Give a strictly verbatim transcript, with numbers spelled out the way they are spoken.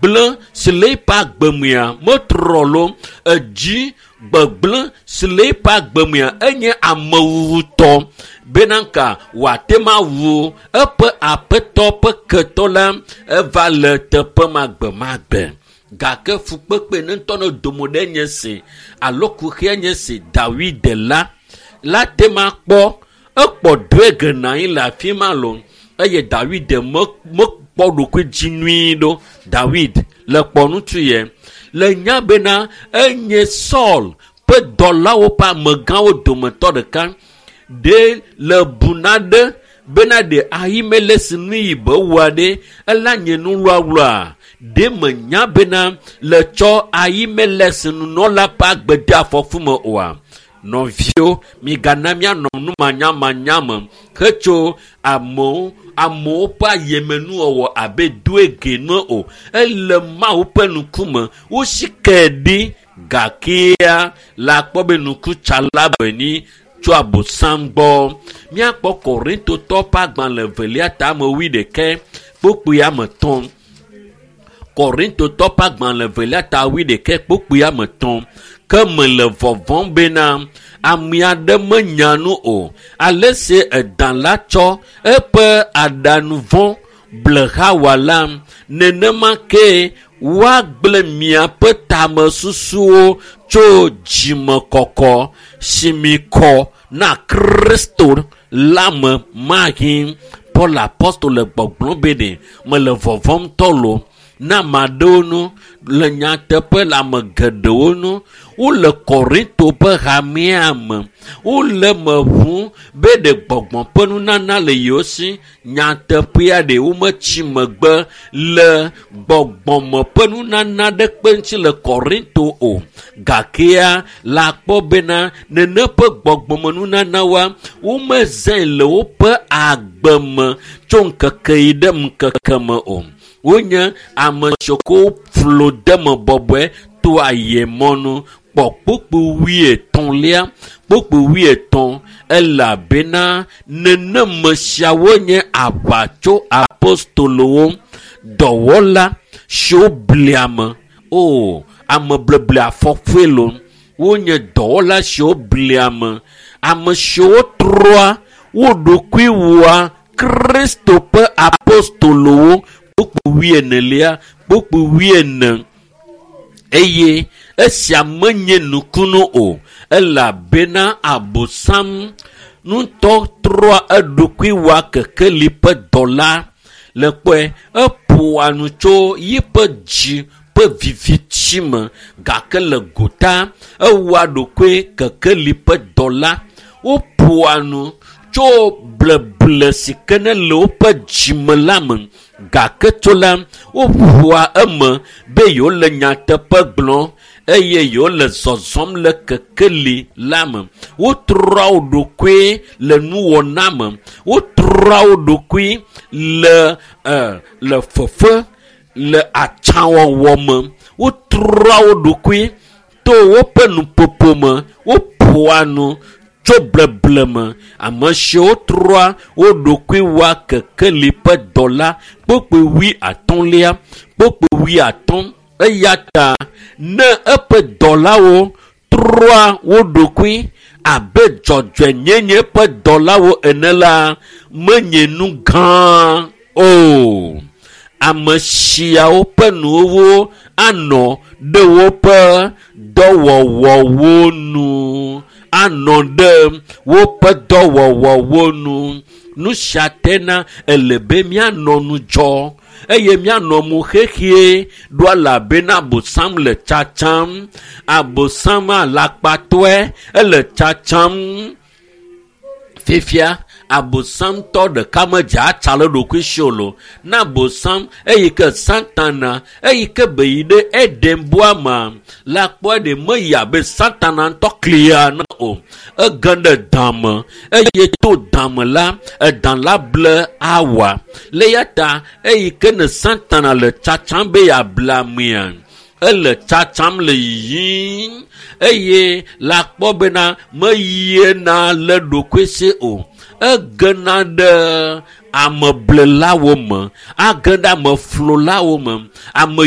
Gbegblẽ si le eƒe agbemea metrɔ lo. Edzi gbegblẽ si le eƒe agbemea enye amewuwutɔ bena ka wòate ma wu eƒe aƒetɔ ƒe ketɔ la eva le teƒe ma gbemagbe. Gake fukpekpe ne ŋutɔ ne domo ɖe nye si alo kuxia nye si Dawid la la te ma kpɔ ekpɔ Doeg nɔ anyi le afi ma lo eye Dawid me mekpɔ ɖokui dzi nyuie ɖo. Dawid le kpɔ ŋutsu yɛ le nya bena enye Saul ƒe dɔlawo ƒe amegãwo dometɔ ɖeka ɖe le bu naɖe bena ɖe Ahimelek nu yi be wɔa ɖe ela nye nuwlawla ɖe menya bena le tsɔ Ahimelek nunɔla ƒe agbe de afɔku me oa. Nɔviwo, migana míanɔ numanyamanya me hetso amewo amewo ƒe ayemenuwɔwɔ abe Doeg ene o. Ele Mawu ƒe ŋkume wosi ke ɖi gakea la kpɔ be nukutsala be tso abosam gbɔ. Míakpɔ Korintotɔ ƒe agbalẽ evelia tame wuiɖekɛ kpukpui ame etɔ̃. Korintotɔ ƒe agbalẽ evelia ta wuiɖekɛ kpukpui ame etɔ̃. Ke mele vɔvɔ̃m bena ame aɖe menya nu o. Ale si edã la tsɔ eƒe aɖanu vɔ̃ ble Hawa la, nenema ke woagblẽ miaƒe tamesusuwo tso dzimekɔkɔ si mi kɔ na Kristo la me mahi. Paul apostol le gbɔgblɔm be ɖe mele vɔvɔ̃m tɔ lo na ame aɖewo nu le nyateƒe le ame geɖewo nu wole Korinto ƒe hamea me wole me ʋu be ɖe gbɔgbɔ ƒe nunana le yewo si nyateƒea ɖe wometsi megbe le gbɔgbɔme ƒe nunana ɖe kpe ŋuti le Korinto o gakea la kpɔ bena nene ƒe gbɔgbɔme nunanawoa womezãe le woƒe agbe me tso ŋkeke yi ɖe ŋkeke me o. Wonye ame siwo flo de me bɔbɔe to ayemɔnu kpɔ kpukpui wuietɔ̃lia kpukpui wuietɔ̃ elabena neneme siawo nye aʋatso apostolowo dɔwɔla siwo blia ame o amebleble afɔkue lo wonye dɔwɔla siwo blia ame ame siwo trɔa wo ɖokui wɔa Kristo ƒe apostolowo kpukpui wuienelia kpukpui wuiene eye esia menye nukunu o elabena abosam ŋutɔ trɔa eɖokui wɔa kekeli ƒe dɔla le kpɔe eƒoa nu tso yiƒe dzi ƒe viviti me gake le gota ewɔa ɖokui kekeli ƒe dɔla woƒoa nu tso bleble si ke ne le woƒe dzime la me gake tso la woƒoa eme be yewole nyateƒe gblɔm eye yewole zɔzɔm le kekeli la me. Wotrɔa wo ɖokui le nuwɔna me. Wotrɔa wo ɖokui le e le fefe le atsãwɔwɔ me. Wotrɔa wo ɖokui to woƒe nuƒoƒo me. Woƒoa nu tso bleble me. Ame siwo trɔa wo ɖokui wɔa kekeli ƒe dɔla kpukpui wuiatɔ̃lia kpukpui wuiatɔ̃ eya ta ne eƒe dɔlawo trɔa wo ɖokui abe dzɔdzɔenyenye ƒe dɔlawo ene la menye nu gã o. Ame siawo ƒe nuwo anɔ ɖe woƒe dɔwɔwɔwo nu anɔ ɖe woƒe dɔwɔwɔwo nu. Nu sia tena ele be míanɔ ŋudzɔ eye míanɔ mo xexie ɖo elabena abosam le tsatsam. Abosam alakpatɔe ele tsatsam. Fifia abosamtɔ ɖeka medze atsa le ɖokui si o lo. Na abosam eyi ke Satana eyi ke be yi ɖe Edenbɔa mea la kpɔe ɖe meyi abe Satana ŋutɔ klia ene o. Ege ɖe da me eye to da me la edã la ble awa. Le eya ta eyi ke ne Satana le tsatsam be yeable amea ele tsatsam le yiyim eye la kpɔ bena meyiena le ɖokui si o. Egena ɖe ameblelawo me, age ɖe ameflolawo me. Ame